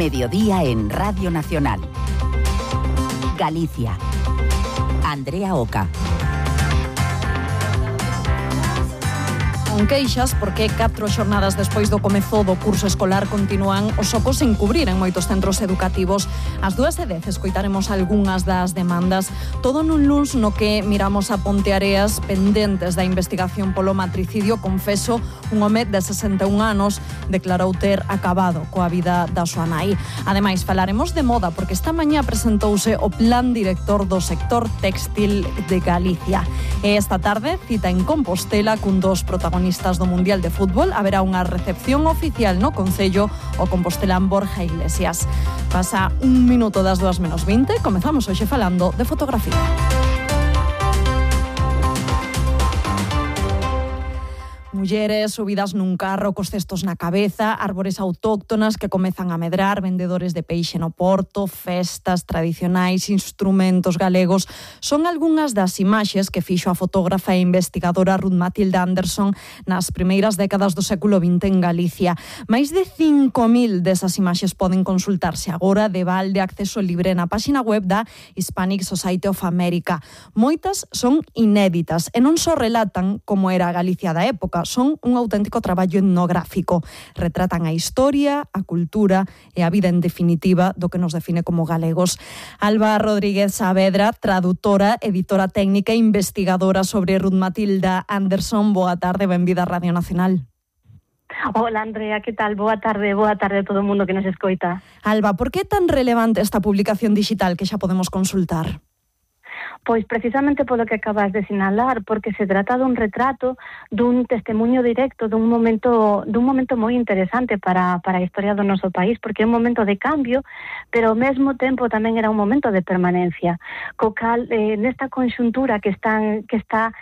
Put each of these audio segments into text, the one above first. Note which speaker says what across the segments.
Speaker 1: Mediodía en Radio Nacional. Galicia. Andrea Oca.
Speaker 2: Con queixas porque 4 xornadas despois do comezo do curso escolar continúan os ocos sen cubrir en moitos centros educativos. Ás 2:10 escoitaremos algunhas das demandas, todo nun luns no que miramos a Ponteareas pendentes da investigación polo matricidio. Confeso, un home de 61 anos declarou ter acabado coa vida da súa nai. Ademais, falaremos de moda porque esta mañá presentouse o plan director do sector textil de Galicia. E esta tarde, cita en Compostela cun dos protagonistas do Mundial de Fútbol. Haberá unha recepción oficial no Concello o compostelán Borja Iglesias. Pasa un minuto das 2:20, comezamos hoxe falando de fotografía. Mulleres subidas nun carro cos cestos na cabeza, árbores autóctonas que comezan a medrar, vendedores de peixe no porto, festas tradicionais, instrumentos galegos. Son algunhas das imaxes que fixo a fotógrafa e investigadora Ruth Matilda Anderson nas primeiras décadas do século XX en Galicia. Máis de 5.000 desas imaxes poden consultarse agora de balde, acceso libre na páxina web da Hispanic Society of America. Moitas son inéditas e non só relatan como era a Galicia da época, son un auténtico traballo etnográfico. Retratan a historia, a cultura e a vida en definitiva do que nos define como galegos. Alba Rodríguez Saavedra, traductora, editora técnica e investigadora sobre Ruth Matilda Anderson. Boa tarde, benvida a Radio Nacional.
Speaker 3: Hola Andrea, que tal? Boa tarde a todo o mundo que nos escoita.
Speaker 2: Alba, por que é tan relevante esta publicación digital que xa podemos consultar?
Speaker 3: Pois precisamente polo que acabas de sinalar, porque se trata dun retrato, dun testemunho directo, dun momento moi interesante para a historia do noso país, porque é un momento de cambio, pero ao mesmo tempo tamén era un momento de permanencia. Co cal, nesta conxuntura que está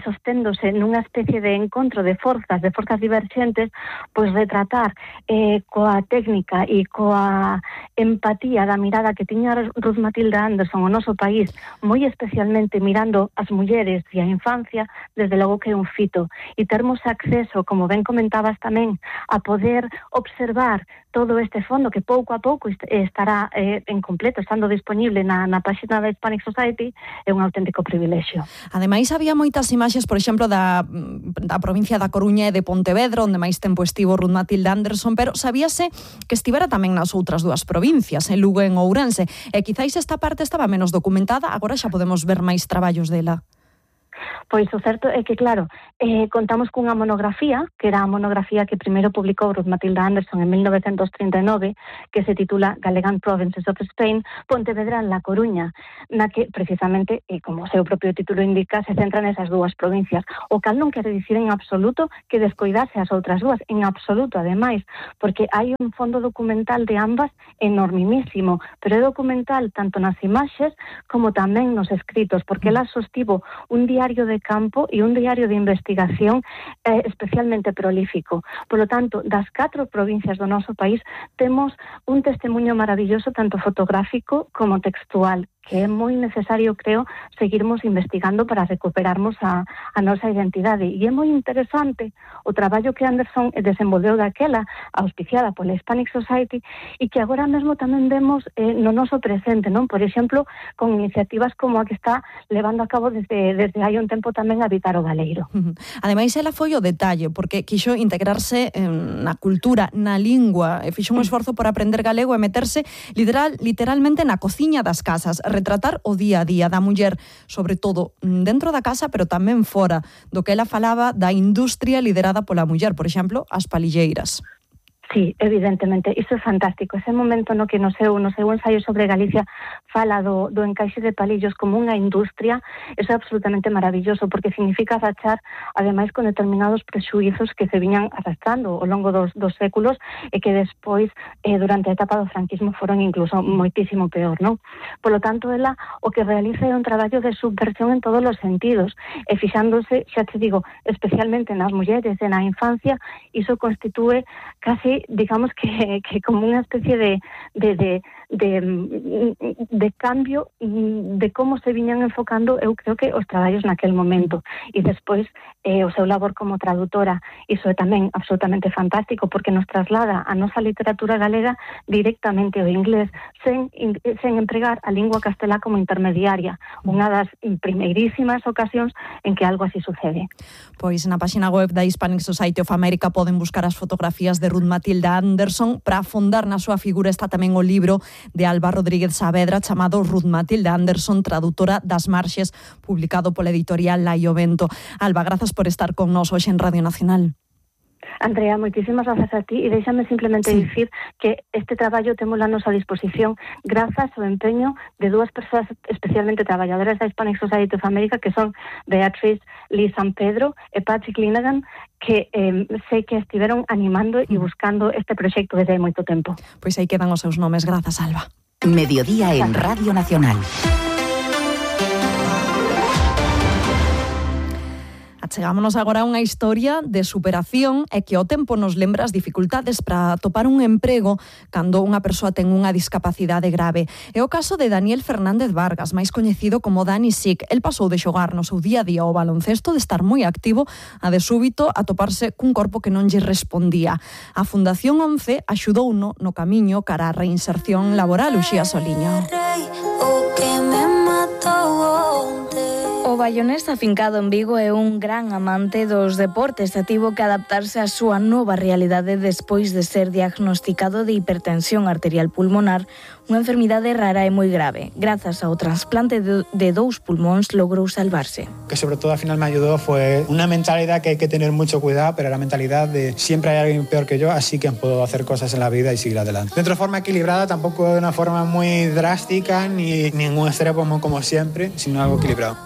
Speaker 3: sosténdose nunha especie de encontro de forzas diverxentes, pois retratar coa técnica e coa empatía da mirada que tiña Ruth Matilda Anderson o noso país, moi especialmente mirando as mulleres e a infancia, desde logo que é un fito. E termos acceso, como ben comentabas tamén, a poder observar todo este fondo que pouco a pouco estará en completo, estando disponible na páxina da Hispanic Society, é un auténtico privilexio.
Speaker 2: Ademais, había moitas imaxes, por exemplo, da provincia da Coruña e de Pontevedra, onde máis tempo estivo Ruth Matilda Anderson, pero sabíase que estivera tamén nas outras dúas provincias, en Lugo e en Ourense, e quizáis esta parte estaba menos documentada, agora xa podemos ver máis traballos dela.
Speaker 3: Pois o certo é que, claro, contamos cunha monografía, que era a monografía que primeiro publicou Ruth Matilda Anderson en 1939, que se titula Galegan Provinces of Spain, Pontevedra en La Coruña, na que, precisamente, como o seu propio título indica, se centra nesas dúas provincias. O cal non quere dicir en absoluto que descoidase as outras dúas, en absoluto, ademais, porque hai un fondo documental de ambas enormísimo, pero é documental tanto nas imaxes como tamén nos escritos, porque ela sostivo un diario de campo e un diario de investigación especialmente prolífico. Por lo tanto, das 4 provincias do noso país temos un testemunho maravilloso tanto fotográfico como textual, que é moi necesario, creo, seguirmos investigando para recuperarmos a nosa identidade. E é moi interesante o traballo que Anderson desenvolveu daquela, auspiciada pola Hispanic Society, e que agora mesmo tamén vemos no noso presente, non? Por exemplo, con iniciativas como a que está levando a cabo desde hai un tempo tamén Habitar o Galeiro.
Speaker 2: Ademais, ela foi o detalle, porque quixo integrarse na cultura, na lingua, e fixo un esforzo por aprender galego e meterse literalmente na cociña das casas, retratar o día a día da muller, sobre todo dentro da casa, pero tamén fora, do que ela falaba da industria liderada pola muller, por exemplo, as palilleiras.
Speaker 3: Sí, evidentemente, iso é fantástico. Ese momento no que no seu ensaio sobre Galicia fala do encaixe de palillos como unha industria, eso é absolutamente maravilloso, porque significa rachar, ademais, con determinados prexuizos que se viñan arrastrando ao longo dos séculos e que despois, durante a etapa do franquismo, foron incluso moitísimo peor, non? Por lo tanto, ela o que realiza é un traballo de subversión en todos os sentidos, e fixándose, xa te digo, especialmente nas mulleres e na infancia, iso constitúe casi digamos que como unha especie de cambio de como se viñan enfocando, eu creo que os traballos naquel momento. E despois o seu labor como traductora, iso é tamén absolutamente fantástico, porque nos traslada a nosa literatura galega directamente ao inglés, sen empregar a lingua castelá como intermediaria, unha das primeirísimas ocasións en que algo así sucede.
Speaker 2: Pois na páxina web da Hispanic Society of America poden buscar as fotografías de Ruth Matilda Anderson. Para afondar na súa figura está tamén o libro de Alba Rodríguez Saavedra chamado Ruth Matilda Anderson, tradutora das marxes, publicado pola editorial Laio Vento. Alba, grazas por estar con nós hoxe en Radio Nacional.
Speaker 3: Andrea, moitísimas grazas a ti, e déxame simplemente dicir que este traballo temos a nosa disposición grazas ao empeño de dúas persoas especialmente traballadoras da Hispanic Society of America, que son Beatriz Lee San Pedro e Patrick Linagan, que sei que estiveron animando e buscando este proxecto desde hai moito tempo.
Speaker 2: Pois aí quedan os seus nomes. Grazas, Alba.
Speaker 1: Mediodía en Radio Nacional.
Speaker 2: Achegámonos agora a unha historia de superación e que ao tempo nos lembra as dificultades para atopar un emprego cando unha persoa ten unha discapacidade grave. É o caso de Daniel Fernández Vargas, máis coñecido como Dani Sic. El pasou de xogar no seu día a día o baloncesto, de estar moi activo, a de súbito atoparse cun corpo que non lle respondía. A Fundación 11 axudouno no camiño cara á reinserción laboral. Uxía Soliño.
Speaker 4: O baionés afincado en Vigo é un gran amante dos deportes e tivo que adaptarse á súa nova realidade despois de ser diagnosticado de hipertensión arterial pulmonar, unha enfermidade rara e moi grave. Grazas ao trasplante de 2 pulmóns logrou salvarse.
Speaker 5: Que sobre todo al final me ayudó fue una mentalidad que hay que tener mucho cuidado, pero la mentalidad de siempre hay alguien peor que yo, así que puedo hacer cosas en la vida y seguir adelante. De otra forma equilibrada, tampoco de una forma muy drástica ni ningún extremo como siempre, sino algo equilibrado.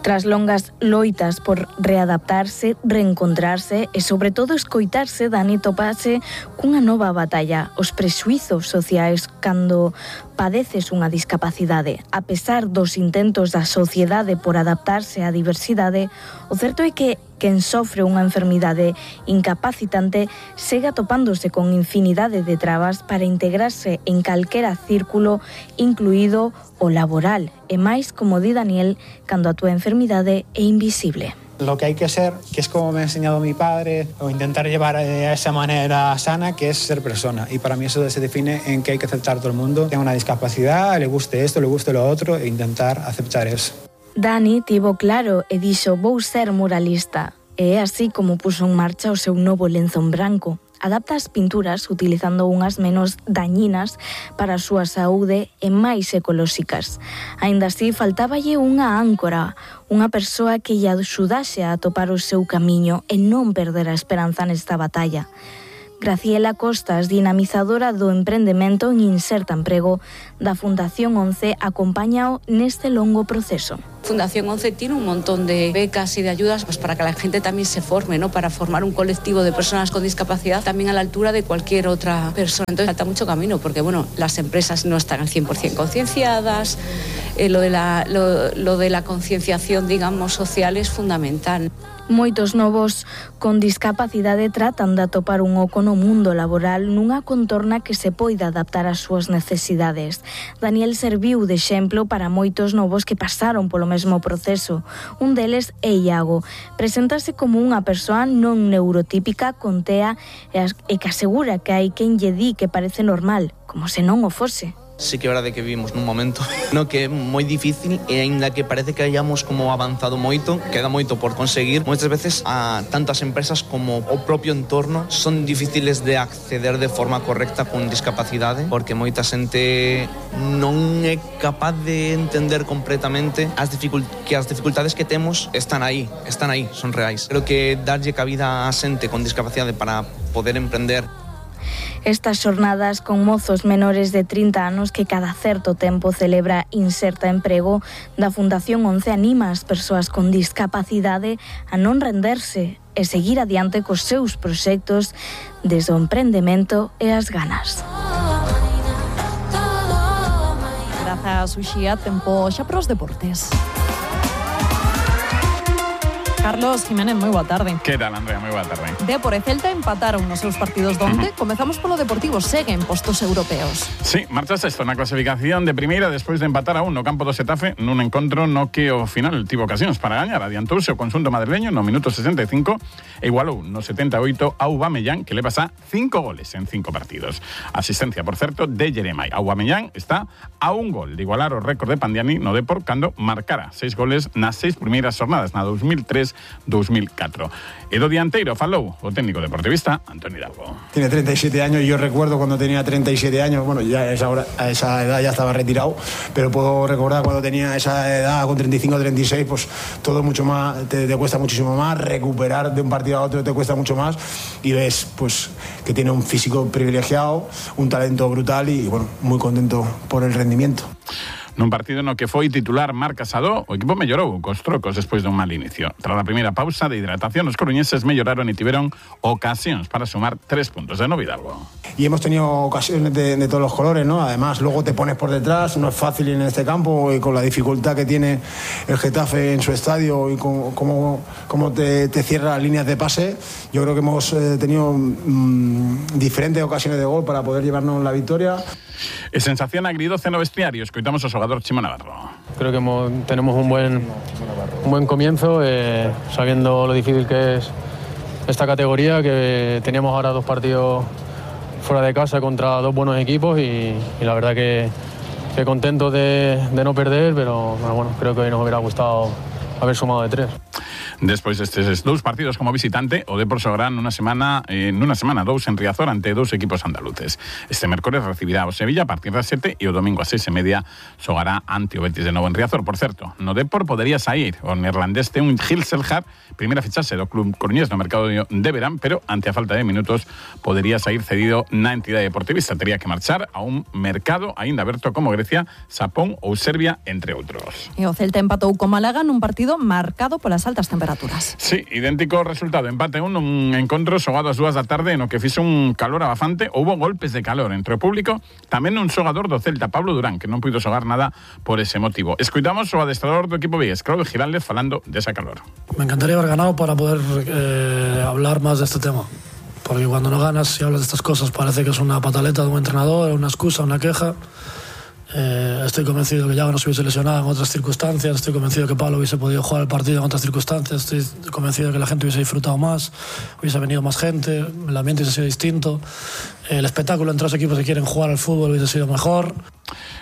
Speaker 4: Tras longas loitas por readaptarse, reencontrarse e sobre todo escoitarse, Dani topase cunha nova batalla, os prexuizos sociais cando padeces unha discapacidade. A pesar dos intentos da sociedade por adaptarse á diversidade, o certo é que quen sofre unha enfermidade incapacitante segue atopándose con infinidade de trabas para integrarse en calquera círculo, incluído o laboral. E máis, como di Daniel, cando a túa enfermidade é invisible.
Speaker 5: Lo que hay que ser, que es como me ha enseñado mi padre, o intentar llevar a esa manera sana, que es ser persona. Y para mí eso se define en que hay que aceptar a todo el mundo. Tenga una discapacidad, le guste esto, le guste lo otro, e intentar aceptar eso.
Speaker 4: Dani tivo claro e dixo: vou ser muralista. E é así como puso en marcha o seu novo lenzo en branco. Adapta as pinturas utilizando unhas menos dañinas para a súa saúde e máis ecolóxicas. Aínda así, faltáballe unha áncora, unha persoa que lle axudase a atopar o seu camiño e non perder a esperanza nesta batalla. Graciela Costas, dinamizadora do emprendemento en Inserta Emprego da Fundación 11, acompáñao neste longo proceso.
Speaker 6: Fundación 11 tiene un montón de becas y de ayudas pues, para que la gente también se forme, ¿no? Para formar un colectivo de personas con discapacidad también a la altura de cualquier otra persona. Entonces falta mucho camino porque bueno, las empresas no están al 100% concienciadas, lo de la concienciación, digamos, social es fundamental.
Speaker 4: Moitos novos con discapacidade tratan de atopar un oco no mundo laboral nunha contorna que se poida adaptar ás súas necesidades. Daniel serviu de exemplo para moitos novos que pasaron polo mesmo proceso. Un deles é Iago. Preséntase como unha persoa non neurotípica con TEA e que asegura que hai quen lle di que parece normal, como se non o fose.
Speaker 7: Sí que é verdade que vivimos nun momento no que é moi difícil e aínda que parece que hayamos como avanzado moito, queda moito por conseguir. Moitas veces tanto as empresas como o propio entorno son difíciles de acceder de forma correcta con discapacidade porque moita xente non é capaz de entender completamente que as dificultades que temos están aí, son reais. Creo que darlle cabida a xente con discapacidade para poder emprender.
Speaker 4: Estas xornadas con mozos menores de 30 anos que cada certo tempo celebra Inserta Emprego da Fundación 11 anima as persoas con discapacidade a non renderse e seguir adiante cos seus proxectos desde o emprendemento e as ganas.
Speaker 2: Grazas, Uxía. Tempo xa para os deportes. Carlos Jiménez, moi boa tarde.
Speaker 8: Que tal, Andrea? Moi boa tarde.
Speaker 2: Dépor e Celta empataron nos seus partidos donte. Comezamos polo Deportivo, seguen postos europeos.
Speaker 8: Sí, marcha sexto na clasificación de primeira despois de empatar a 1 no campo do Xetafe nun encontro no que ao final tivo ocasións para gañar. Adiantouse o conxunto madrileño no minuto 65 e igualou no 78 a Aubameyang, que leva xa 5 goles en 5 partidos. Asistencia, por certo, de Jeremai. Aubameyang está a un gol de igualar o récord de Pandiani no Depor cando marcara 6 goles nas 6 primeiras jornadas, na 2003-2004. E do dianteiro falou o técnico deportivista Antonio Hidalgo.
Speaker 9: Tiene 37 años y yo recuerdo cuando tenía 37 años, bueno, ya a esa edad ya estaba retirado, pero puedo recordar cuando tenía esa edad con 35 o 36, pues todo mucho más, te cuesta muchísimo más, recuperar de un partido a otro te cuesta mucho más y ves pues que tiene un físico privilegiado, un talento brutal y bueno, muy contento por el rendimiento.
Speaker 8: Nun partido no que foi titular Marc Casado, o equipo mellorou cos trocos despois dun mal inicio. Tras a primeira pausa de hidratación, os coruñeses melloraron e tiveron ocasións para sumar 3 puntos de Hidalgo.
Speaker 9: Y hemos tenido ocasiones de todos los colores, ¿no? Además, luego te pones por detrás, no es fácil en este campo y con la dificultad que tiene el Getafe en su estadio y cómo te cierra líneas de pase. Yo creo que hemos tenido diferentes ocasiones de gol para poder llevarnos la victoria.
Speaker 8: E sensación agridoce no vestiario, escoitamos ao xogador Chimo Navarro.
Speaker 10: Creo que tenemos un buen comienzo, sabiendo lo difícil que es esta categoría, que teníamos ahora 2 partidos fuera de casa contra 2 buenos equipos y la verdad que contento de no perder, pero bueno, creo que hoy nos hubiera gustado haber sumado de 3.
Speaker 8: Despois destes 2 partidos como visitante, o Depor xogará nunha semana 2 en Riazor ante 2 equipos andaluces. Este mércores recibirá o Sevilla a partir das 7 e o domingo a 6:30 xogará ante o Betis de novo en Riazor. Por certo, no Depor podería sair o neerlandés un Gil Selhar, primeira fichaxe do club coruñés no mercado de verán, pero ante a falta de minutos podería sair cedido na entidade deportivista. Tería que marchar a un mercado aínda aberto como Grecia, Xapón ou Serbia, entre outros.
Speaker 2: E o Celta empatou co Málaga nun partido marcado polas altas temperaturas.
Speaker 8: Sí, idéntico resultado, empate un encontro xogado ás 2 da tarde no que fixo un calor abafante. Houbo golpes de calor entre o público, tamén un xogador do Celta, Pablo Durán, que non puido xogar nada por ese motivo. Escoitamos o adestrador do equipo vigués, Claudio Giraldez, falando desa calor.
Speaker 11: Me encantaría haber ganado para poder hablar más de este tema, porque cuando no ganas y hablas de estas cosas parece que es una pataleta de un entrenador, una excusa, una queja. Estoy convencido que Yago no se hubiese lesionado en otras circunstancias, estoy convencido que Pablo hubiese podido jugar el partido en otras circunstancias, estoy convencido que la gente hubiese disfrutado más, hubiese venido más gente, el ambiente hubiese sido distinto, el espectáculo entre los equipos que quieren jugar al fútbol hubiese sido mejor.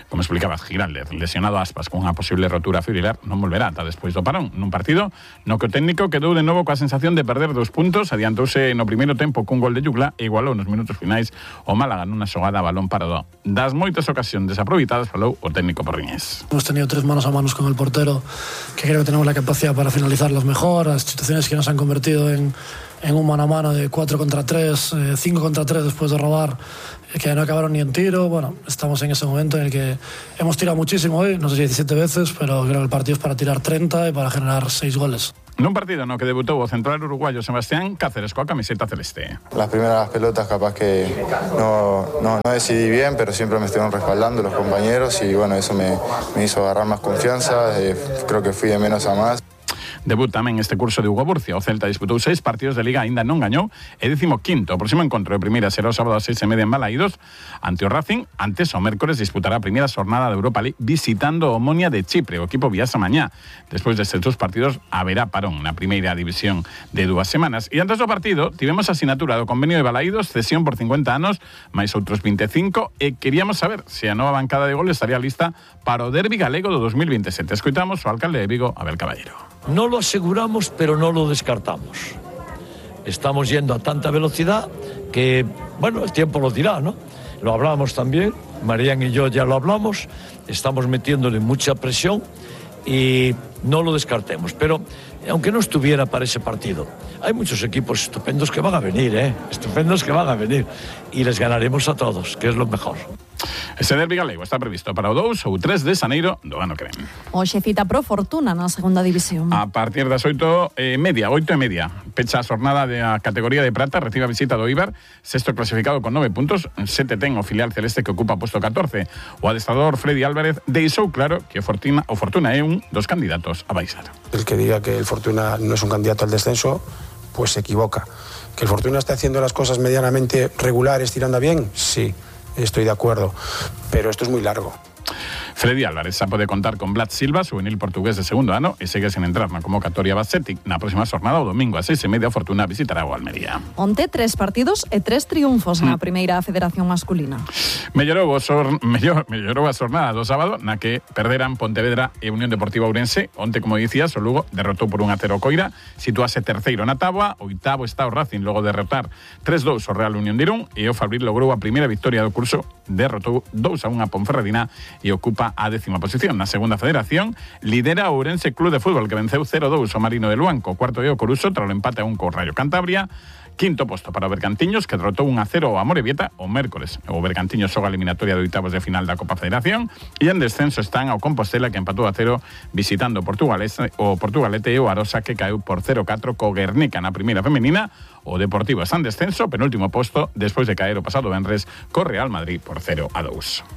Speaker 8: Como explicabas, Giraldez, lesionado Aspas con unha posible rotura fibrilar, non volverá ata despois do parón. Nun partido no que o técnico quedou de novo coa sensación de perder 2 puntos, adiantouse no primeiro tempo cun gol de Yugla e igualou nos minutos finais o Málaga nunha xogada a balón parado. Das moitas ocasións desaproveitadas falou o técnico porriñés.
Speaker 11: Hemos tenido 3 manos a manos con el portero, que creo que tenemos la capacidad para finalizarlas mejor, las situaciones que nos han convertido en un mano a mano de 4 contra 3, 5 contra 3 después de robar, que no acabaron ni en tiro. Bueno, estamos en ese momento en el que hemos tirado muchísimo hoy, no sé si 17 veces, pero creo que el partido es para tirar 30 y para generar 6 goles.
Speaker 8: Nun partido no que debutou o central uruguayo Sebastián Cáceres coa camiseta celeste.
Speaker 12: Las primeras pelotas capaz que no decidí bien, pero siempre me estuvieron respaldando los compañeros y bueno, eso me hizo agarrar más confianza, creo que fui de menos a más.
Speaker 8: Debut tamén este curso de Hugo Burcia. O Celta disputou 6 partidos de Liga, aínda non gañou, e 15º. O próximo encontro de primeira será o sábado a 6:30 en Balaídos ante o Racing. Antes, o mércores disputará a primeira xornada de Europa League visitando o Omonia de Chipre. O equipo viaxa mañá. Despois destes 2 partidos haberá parón na primeira división de 2 semanas. E antes do partido tivemos a asinatura do convenio de Balaídos, cesión por 50 anos, máis outros 25, e queríamos saber se a nova bancada de goles estaría lista para o derbi galego do 2027. Escoitamos o alcalde de Vigo, Abel Caballero.
Speaker 13: No lo aseguramos, pero no lo descartamos. Estamos yendo a tanta velocidad que, bueno, el tiempo lo dirá, ¿no? Lo hablamos también, Marián y yo ya lo hablamos, estamos metiéndole mucha presión y no lo descartemos. Pero, aunque no estuviera para ese partido, hay muchos equipos estupendos que van a venir, estupendos que van a venir, y les ganaremos a todos, que es lo mejor.
Speaker 8: Ese derbi galego está previsto para o 2 ou 3 de xaneiro do ano que ven.
Speaker 2: Hoxe cita pro Fortuna na segunda división.
Speaker 8: A partir das 8:30, pecha a xornada da categoría de prata, recibe a visita do Eibar, sexto clasificado con 9 puntos, 7 ten o filial celeste que ocupa posto 14. O adestrador Freddy Álvarez deixou claro que o Fortuna é un dos candidatos a baixar.
Speaker 9: El que diga que el Fortuna no es un candidato al descenso, pues se equivoca. ¿Que el Fortuna está haciendo las cosas medianamente regulares, tirando a bien? Sí, estoy de acuerdo, pero esto es muy largo.
Speaker 8: Freddy Álvarez xa pode contar con Vlad Silva, juvenil portugués de segundo ano, e segue sen entrar na convocatoria Bassetic. Na próxima xornada, o domingo a 6:30, a Fortuna visitará o Almería.
Speaker 2: Onte 3 partidos e 3 triunfos na primeira federación masculina.
Speaker 8: Mellorou a xornada do sábado, na que perderan Pontevedra e Unión Deportiva Ourense. Onte, como dicías, o Lugo derrotou por 1-0 o Coira, situase terceiro na táboa, oitavo está o Racing logo de derrotar 3-2 o Real Unión de Irún, e o Fabril logrou a primeira victoria do curso, derrotou 2-1 a Ponferradina e ocupa a 10ª posición. Na segunda federación lidera o Ourense Club de Fútbol, que venceu 0-2 o Marino de Luanco. Cuarto é o Coruso, tras o empate a 1 co Rayo Cantabria. Quinto posto para o Bergantiños, que derrotou 1-0 a Amorebieta o mércores. O Bergantiños xoga a eliminatoria de oitavos de final da Copa Federación, e en descenso están ao Compostela, que empatou a 0 visitando o Portugalete, e o Arosa, que caeu por 0-4 co Guernica na primeira femenina. O Deportivo está en descenso, penúltimo posto, despois de caer o pasado venres co Real Madrid por 0-2.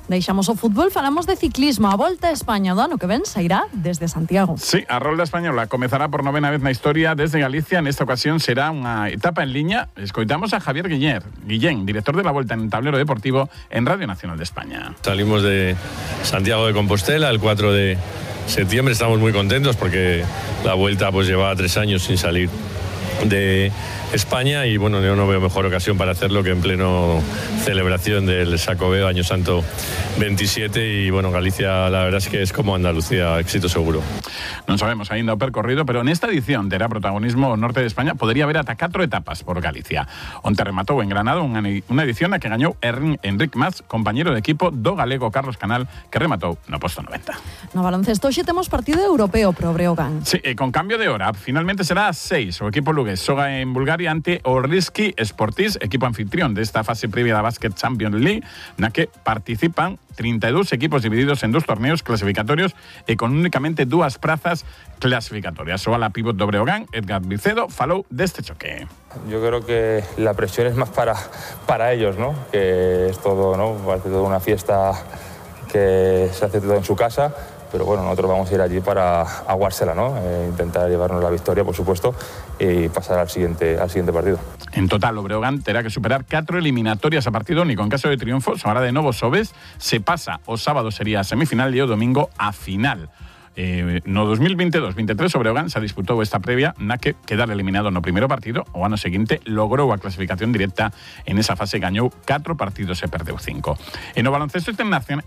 Speaker 2: Deixamos o fútbol, falamos de ciclismo. A Volta a España do ano que ven sairá desde Santiago.
Speaker 8: Sí, a rolda española comezará por 9ª vez na historia desde Galicia. Nesta ocasión será unha etapa en liña. Escoitamos a Javier Guillén, director de la Volta en Tablero Deportivo en Radio Nacional de España.
Speaker 14: Salimos de Santiago de Compostela el 4 de septiembre. Estamos muy contentos porque la Vuelta pues llevaba 3 años sin salir de España, y bueno, yo no veo mejor ocasión para hacerlo que en pleno celebración del Xacobeo Año Santo 27, y bueno, Galicia la verdad es que es como Andalucía, éxito seguro.
Speaker 8: Non sabemos aínda o percorrido, pero nesta edición terá protagonismo o norte de España. Podería haber ata 4 etapas por Galicia. Onte rematou en Granada unha edición na que gañou Enric Mas, compañeiro de equipo do galego Carlos Canal, que rematou no posto 90.
Speaker 2: No baloncesto hoxe temos partido europeo pro Breogán.
Speaker 8: Sí, e con cambio de hora, finalmente será a 6. O equipo lugués xoga en Bulgaria ante o Riski Sportis, equipo anfitrión desta fase previa da Basket Champions League, na que participan 32 equipos divididos en 2 torneos clasificatorios e con únicamente 2 prazas clasificatorias. O ala pívot do Breogán, Edgar Vicedo, falou deste choque.
Speaker 15: Yo creo que la presión es más para ellos, ¿no? Que es todo, ¿no? Parece toda una fiesta que se hace todo en su casa. Pero bueno, nosotros vamos a ir allí para aguársela, ¿no? Intentar llevarnos la victoria, por supuesto, y pasar al siguiente partido.
Speaker 8: En total, o Breogán terá que superar 4 eliminatorias a partido único. En caso de triunfo, somará de novo Sobes, se pasa o sábado sería a semifinal e o domingo a final. No 2022-23 o Breogán se disputou esta previa na que quedar eliminado no primeiro partido. O ano seguinte logrou a clasificación directa. En esa fase gañou 4 partidos e perdeu 5. E no baloncesto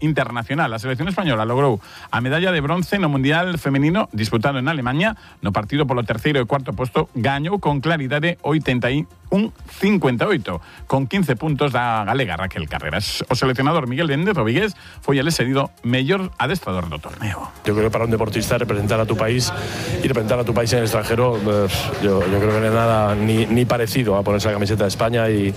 Speaker 8: internacional, a selección española logrou a medalla de bronce no Mundial Femenino disputado en Alemania. No partido polo terceiro e cuarto posto gañou con claridade 81-58 con 15 puntos da galega Raquel Carreras. O seleccionador Miguel Méndez Rodríguez foi el seguido mellor adestrador do torneo.
Speaker 16: Yo creo que para un deportista representar a tu país y representar a tu país en el extranjero, yo creo que no es nada ni parecido a ponerse la camiseta de España y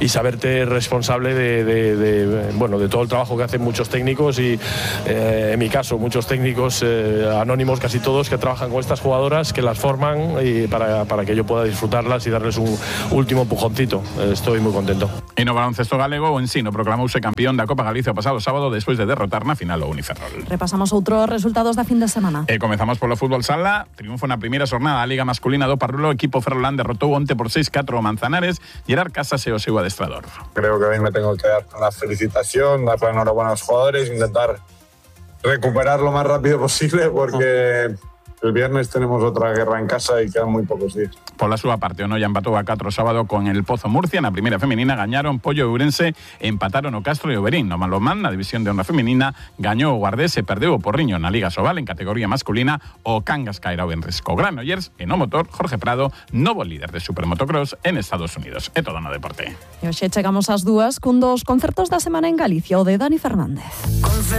Speaker 16: saberte responsable de todo el trabajo que hacen muchos técnicos y en mi caso muchos técnicos anónimos, casi todos, que trabajan con estas jugadoras, que las forman y para que yo pueda disfrutarlas y darles un último empujoncito. Estoy muy contento.
Speaker 8: E no baloncesto galego, o Ensino proclamouse campeón da Copa Galicia o pasado sábado despois de derrotar na final o Uniferrol.
Speaker 2: Repasamos outros resultados da fin de semana.
Speaker 8: Comezamos polo fútbol sala. Triunfo na primeira xornada da Liga Masculina do Parrulo. O equipo ferrolán derrotou onte por 6-4 o Manzanares. Gerard Casas e o seu adestrador.
Speaker 17: Creo que hoy me tengo que dar la felicitación, dar la enhorabuena a los jugadores, intentar recuperar lo más rápido posible porque el viernes tenemos otra guerra en casa y quedan muy pocos días.
Speaker 8: Pola súa parte, o Noia empatou a 4 sábado con el Pozo Murcia. Na primeira femenina gañaron Pollo e Ourense, empataron o Castro e o Berín. No Malomán, na división de honra femenina, gañou o Guardés e perdeu o Porriño. Na Liga Sobal, en categoría masculina, o Cangas caerá o Benresco Granollers. E no motor, Jorge Prado, novo líder de Supermotocross en Estados Unidos. É todo no deporte.
Speaker 2: E hoxe chegamos ás 2 cun dos concertos da semana en Galicia, o de Dani Fernández.